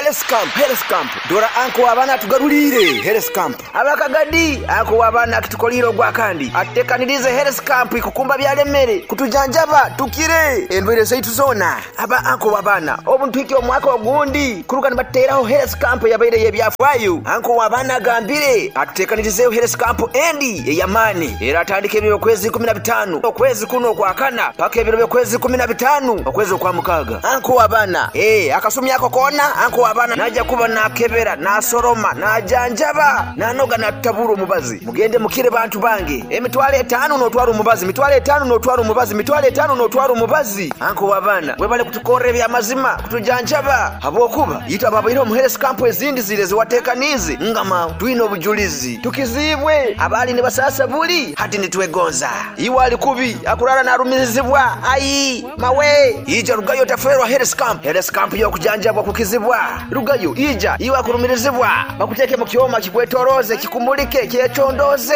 Health Camp, Health Camp. Dora anko w'abaana atugaruliire Health Camp. Abakagadi, anko w'abaana akitukoliire ogwakandi. Atutekaniriize Health Camp ikukumba byalemere kutujanjaba tukire endwaire zaitu zoona. Aba anko w'abaana obu nituhikya omwaka ogundi kuruga nibatuteraho Health Camp eyabaire ey'ebyafaayo. Anko w'abaana agambire atutekanirizeeho Health Camp endi ey'amaani eratandika ebiro by'okwezi 15 okwezi kunu okwakana paka ebiro by'okwezi 15 okwezi okwamukaaga. Anko w'abaana, Ee, akasumi ako koona anko w'abaana naija kuba naakebera, naasoroma, naajanjaba, naanoga naatutabura omubazi. Mugende mukire bantu bange. 500 n'otwara omubazi, 500 n'otwara omubazi, 500 n'otwara omubazi. Anko w'abaana, webale kutukorra eby'amazima, kutujanjaba, habwokuba itwe ababaireho omu health camp ezindi ziri eziwateekaniize, ngama twine obujulizi. Tukiziibwe abaali nibasaasa buli hati nitwegonza. Iwe ali kubi, akurara narumirizibwa, ai mawe! Ija rugayo otafeerwa health camp. Health camp y'okujanjabwa kukizibwa. Rugayo, ija, iwe akurumirizibwa, bakuteeke mu kyoma kikwetorooze, kikumulike, kyecondooze.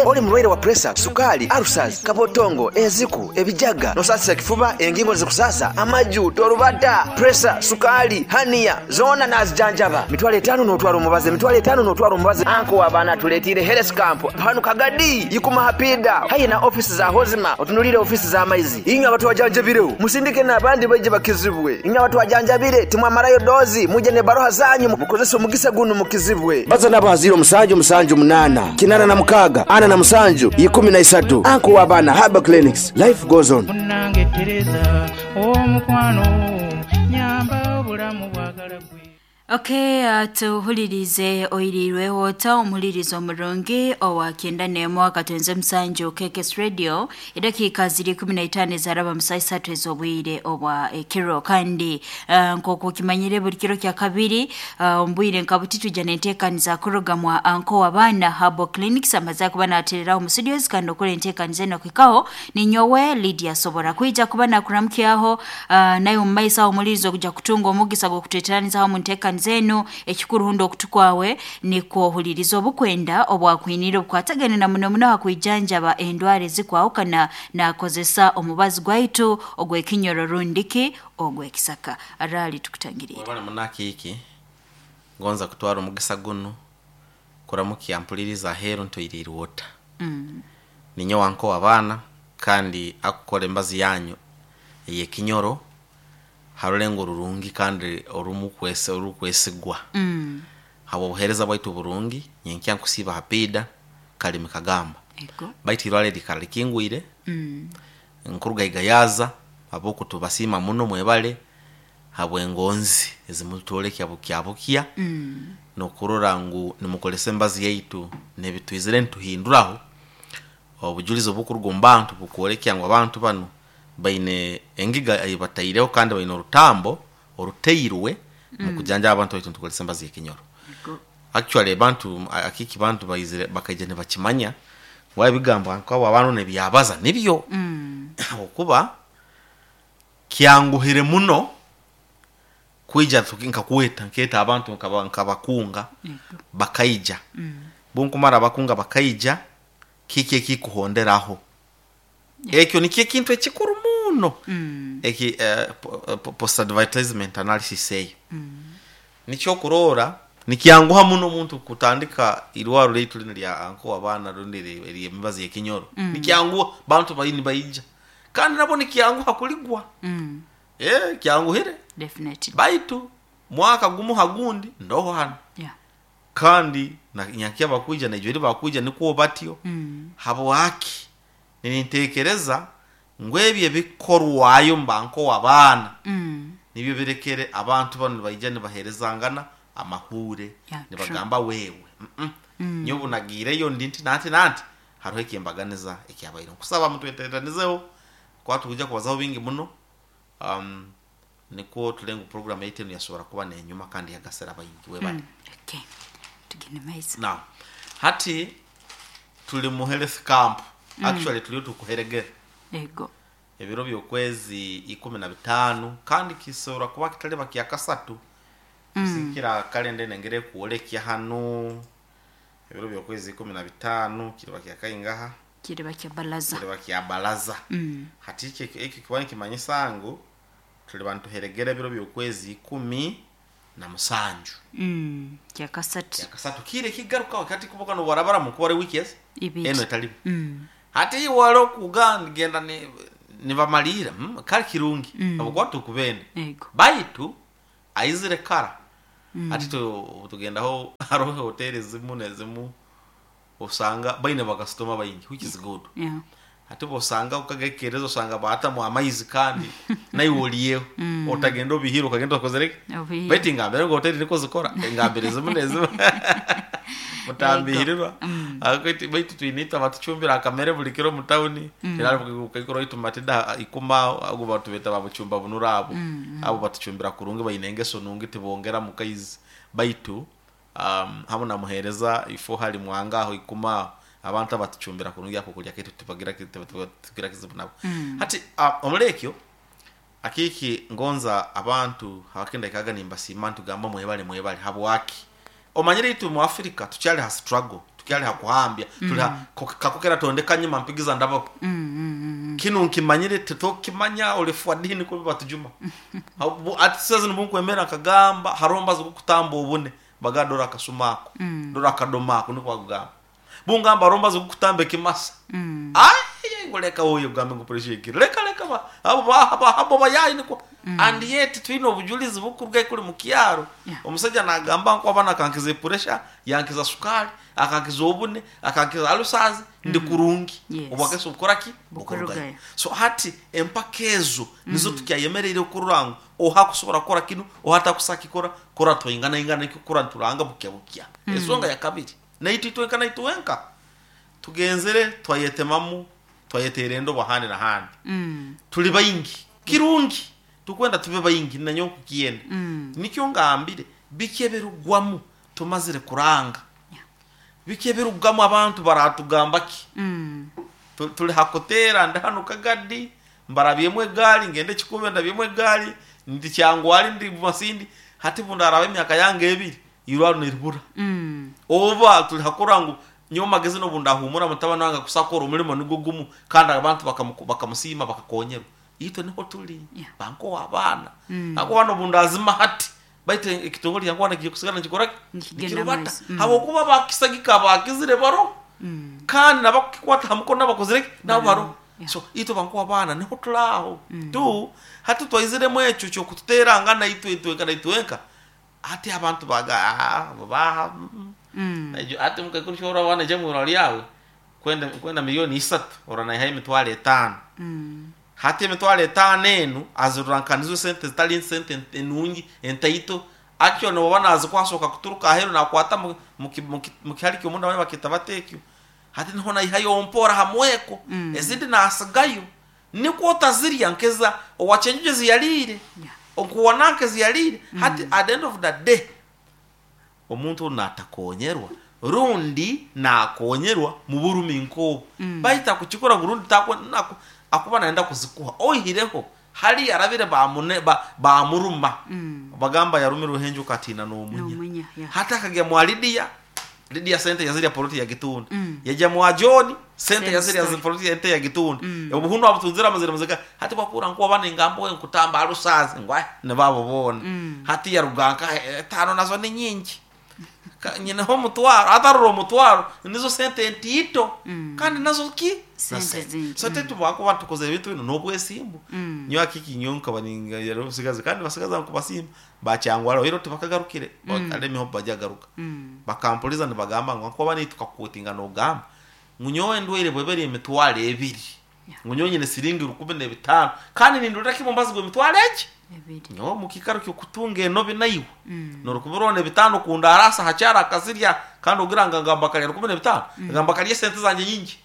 Oli murwaire wa puresa, sukaali, ulcers, kabotongo, enziku, ebijaga, nosaasisa ekifuba, engingo nizikusaasa, amaju, torubata, puresa, sukaali, haniya, zoona nazijanjaba. 500 n'otwara omubazi, 500 n'otwara omubazi. Anko w'abaana atuleetiire health camp hanu Kagadi, Ikuma Hapiida, haihi na ofisi za Hozima, otunuliire ofisi z'amaizi. Inywe abatwajanjabireho, musindike n'abandi baije bakizibwe. Inywe abatwajanjabire, timwamarayo dozi, mwije n'ebaroha zanyu mukozese omugisa gunu mukizibwe. Baza nabo ha 0 7 7 8 86 47 13. Anko w'abaana Herbal Clinics. Life goes on. Munnange Tereza omukwano nyamba obulamu bwagala gwe. Okay, tuhulirize oirirweho ota omuhuliriza omurungi owa 91 akatonze musanju KKS Radio, edakiika ziri 15 ezaraba mu saa isatu ez'obwire obwa ekiro. Kandi nk'oku okimanyire buli kiro kya kabiri, omu bwire nka buti twija n'enteekaniza kuruga mwa anko w'abaana Herbal Clinics amaze kuba naatereraho mu studios, kandi okora enteekaniza enu okuhikaho ninyowe Lydia asobora kwija kuba nakuramukyaho, naye omu maiso aho omuhuliriza okuja kutunga omugisa gw'okutweteraniza hamu nteekaniza enu. Ekikuru hundi okutu kwawe nikwo ohuliriza obukwenda obwakwiniire obukwatagana na muno muno ha kwijanjaba endwara ezikwahukana nakozesa omubazi gwaitu ogw'ekinyoro rundiki ogw'ekisaka. Araali tukutangiriire. Webale muno akiiki ngonza kutwara omugisa gunu kuramukya mpuliriza aheeru ntoiriirwe ota. Ninyowe anko w'abaana kandi akukora embazi yanyu ey'ekinyoro ha rulengo rurungi kandi orukwesigwa. Habw'obuheereza bwaitu burungi, nyenkya nkusiiba ha piida Kalimi Kagamba. Baitu irwaro liikara likingwire, nkuruga Igayaza habwoku tubasiima muno mwebale habw'engonzi ezimutwolekya bukya bukya n'okurora ngu nimukozesa embazi yaitu n'ebitwizire nituhinduraho. Obujulizi obukuruga omu bantu bukwolekya ngu abantu banu baine engiga ei bataireho kandi baine orutambo orutairwe mu kujanjaba abantu baitu nitukozesa embazi y'ekinyoro. Actually abantu akiki bantu baizire bakaija nibakimanya ngu ebigambo nk'abo abantu n'ebyabaza nibyo habwokuba kyanguhire muno kwija nkakweta nkeeta abantu nkabakunga bakaija. Bunkumara bakunga bakaija, kiki ekikuhonderaho? Ekyo nikyo ekintu ekikuru muno eki post advertisement analysis eyo. Nikyo okurora nikyanguha muno omuntu kutandika irwaro lyaitu linu lya anko w'abaana rundi ery'emibazi y'ekinyoro. Nikyanguha bantu nibaija kandi nabwo nikyanguha kuligwa. Kyanguhire. Baitu mwaka gumu ha gundi ndoho hanu. Kandi nyankya bakwija naijweri bakwija nikwo batyo. Habwaki? Ninteekereza ngu ebi ebikorwayo mu banko w'abaana nibyo birekere abantu banu nibaija nibaheerezangana amahuure nibagamba wewe nyowe obu nagiireyo ndi nti nanti nanti haroho ekyembaganiza ekyabaire. Nkusaba mutweteranizeho kuba tukwija kubazaho bingi muno, nikwo tulenge ngu program yaitu enu yasobora kuba nenyuma kandi yagasira baingi. Webale. Okay. Tugende maiso. Now, hati tuli mu health camp. Actually tuliyo tukuheregera. Ebiro by'okwezi 15 kandi kisobora kuba kitaliba kya kasatu. Kusigikira kalenda enu engeri ekwolekya hanu ebiro by'okwezi 15 kiriba kya kaingaha? Kiriba kya balaza. Kiriba kya balaza. Hati ekyo kiba nikimanyisa ngu tuliba nituheregera ebiro by'okwezi 10 na musanju. Kyakasatu. Kyakasatu kiire kigarukaho kati kuboka nobarabara mukuba wiki ezi Ibiri. eno etalimu. Hati iwale okuga nigenda nibamalira kali kirungi abukuba tukubende Ego. baitu aizire kara. Hati tugendaho hariho hoteli zimu nezimu osanga baine bakasitoma baingi, which is good. Hati bosanga ukagekereza osanga baatamu amaizi kandi naiwe oliyeho otagenda obihire okagenda okozereke. Obihire. Baitu ngambire ngu hoteli niko zikora engambire zimu nezimu mutambihirirwa. Baitu twine itwe abatucumbira akamere buli kiro mu tawuni ukaikora itu matida ikuma ago batu beta babucumba bunura abo abo batucumbira kurungi baine engeso nungi tibongera mu kaizi baitu hamu na muhereza ifo hali mwanga aho ikuma abantu abatucumbira kurungi ako kulya kitu tibagira tugira kizibu nabo. Hati omulekyo akiki ngonza abantu abakenda ikaga nimbasiima ntugamba mwebale mwebale habwaki omanyire itwe mu Africa tukyali ha struggle, tukyali ha kuhambya tuli ha kakukera tondeka nyuma mpigiza ndabo. Kinu nkimanyire tetokimanya olefwa dini kubi batujuma. Ati sasa nibunkwemera akagamba haromba zokutamba obune bagadora akasumako dora akadomako niko bagamba bungamba romba zokutamba ekimasa. Ai ngoleka oyo gambe ngupuresha kiri leka leka ba abo ba abo bayayi niko. And yet twine obujulizi bukuruga kuli mu kyaro. Omusajja nagamba nko abana akankiza pressure, yankiza sukari, akankiza obune, akankiza alusazi ndi kurungi. Obwakeso bukora ki? Bukurugayo. So hati empaka ezo nizo tukyayemereire okurura ngu oha kusobora kukora kinu oha takusakikora kora twingana ingana nikyo kora nturanga bukya bukya. Ensonga ya kabiri naitu itwenka naitu wenka tugenzere twayetemamu twayetere endobo handi na handi. Tuli baingi kirungi tukwenda tube baingi nanyo kukiyenda. Nikyo ngambire bikeberugwamu tumazire kuranga. Bikeberugwamu abantu baratugamba ki? Tuli hakotera ndahano kagadi mbarabyemu egali ngende kikube ndabyemu egali ndi kyangwali ndi masindi hati bundaraba emyaka yange ebiri irwaro niribura. Oba tuli hakurangu nyo magezi no bundahumura mutabana wange kusakora omulimo nigo gumu kandi abantu bakamusima bakakonyerwa. Itwe niho tuli banko abaana. Ako bano bundazima hati baitu ekitongole kyangwana kikusigana nikikora Nikigenda nikirubata. maiso. Habwokuba bakisagika bakizire baro. Kandi nabakukwata hamukono nabakozire nabo baro. So itwe banko abaana niho tulaho tu hati twaiziremu ekyo kyokututerangana itwe itwenka naitwenka hati abantu baga baha. Ati mukakuru abana je mwirwa lyawe kwenda 3 milioni oranayihayo 5,000. Hati 5,000 enu azirurankanizo sente zitali sente enungi entaito akyo noba nazikwasoka kuturuka aheru nakwata mukihali kyomunda bane bakita batekyo hati niho nayihayo mpora hamweko ezindi nasigayo niko otazirya nkeza owachenjuje ziyalire okuwananke ziyalire. Hati at the end of the day omuntu natakonyerwa rundi nakonyerwa mu burumi nkobu baita kukikora burundi takwe nako akuba naenda kuzikuha oihireho hali yarabire bamune bamuruma bagamba yarumira uhenjo katina n'omunya. N'omunya, yeah. Hata akagya mwa Lydia Lydia sente yazirya poloti ya Gitunda. Yajya mwa John sente Same yazirya story. poloti ente ya Gitunda. Obuhundu abutunzira amazira muzika hati bakura nkuba bane ngambo nkutamba arusaze ngwa ne babo bona. Hati yaruganka tano nazo ni nyingi. Nyineho omutwaro atarura omutwaro nizo sente ntito kandi nazo ki Sente Na sente. zingi. So tetubakuba tukoze ebintu bino n'obwesimbu nyo akiki nyo nkaba ningayero busigazi kandi basigaza nkubasimba bakyangwala ero tebakagarukire alemiho bajagaruka bakampuliza nibagamba ngu nkuba nitukakutinga nogamba ngu nyowe endwaire bweberi 2,000 ngu nyowe nyine siringi 1,005 kandi nindurira kimwe mbazi gwe emitwaro egi Ebiri. nyowe mukikaro kyokutunga enobi naiwe norukumi bitano kundarasa hakyara akazirya kandi ogira nga ngamba kalya 15 ngamba kalya sente zanje nyingi.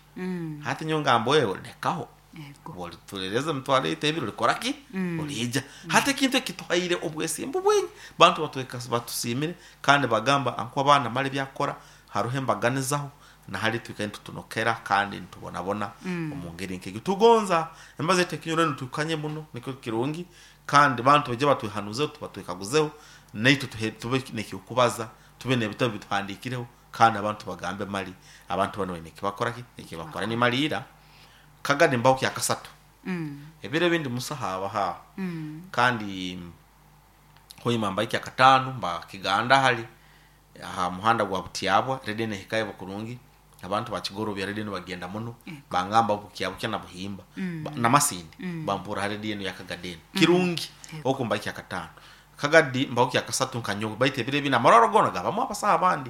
Hati nyo ngambo ewe lekaho. Ego. Olitulereza emitwaro ebiri olikora ki olija hati ekintu ekituhaire obwesimbu bwingi bantu batusimire kandi bagamba anku abaana mali byakora haruho embaganizaho nahali twikaye nitutunokera kandi nitubonabona omu ngeri nkegyo tugonza embazo yaitu ekinyoro nitukanye muno nikyo kirungi kandi bantu bajye batwehanuzeho tubatwekaguzeho naitwe tube nekyokubaza tube nebitabo bituhandikireho kandi abantu bagambe mali abantu bano baine ekibakora ki ekibakora nimalira kagadi mbaho kyakasatu. Ebiro ebindi musa habaha kandi Hoima mbaikya katano mba Kiganda hali aha muhanda gwa Butiabwa, redi nehikayo kurungi. Abantu bakigorobya redi bagenda muno, bangamba bukyabukya na Buhimba namasindi bampura redi eno yakagadeni kirungi. Oku mbaikya katano kagadi mbawukya kasatu nkanyowe, baitu ebiro ebi namarwaro gona gabamu abasaha abandi.